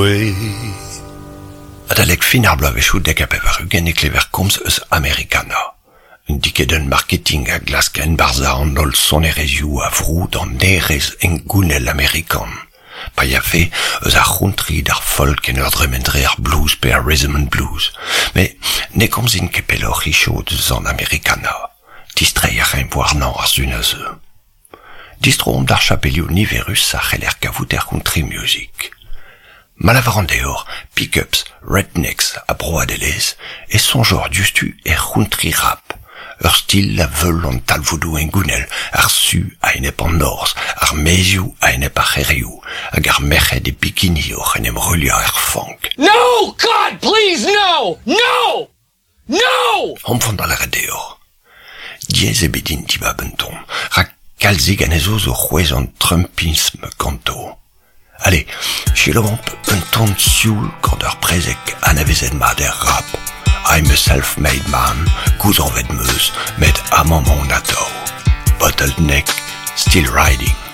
way. Adalek fin ar bloavezhioù 90 e klever komz eus Americana. Un dikedenn marketing a glask enbarzhañ an holl sonerezhioù a vroud an hêrezh hengounel amerikan. Pa yafe eus ar c'hountry d'ar folk en ur dremen dre ar blues pe ar rhythm and blues. Met ne komzin ket pelloc'h hiziv eus an Americana. Distreiñ a raimp warnañ ar sun a zeu. Distroomp d'ar chapelioù niverus a c'heller kavout er c'hountry music. Ma lavaran deoc'h pick-ups, rednecks ha broadelezh e soñjoc'h diouzhtu er c'hountry rap, ur stil a veul an talvoudoù hengounel, ar su a-enep an norzh, ar maezioù a-enep ar c'hêrioù, hag ar merc'hed e bikini oc'h en em ruilhañ er fank. No! God, please, no! No! No! Omp da lâret deoc'h. Diaes eo bet din dibab un ton, rak kalzik anezho zo c'hwezh an trumpism ganto. Allez, selaouomp un ton sioul gant ur prezeg anavezet mat er rap. I'm a self-made man, gouzañvet 'm eus, met amañ 'maon atav. Bottleneck, still riding.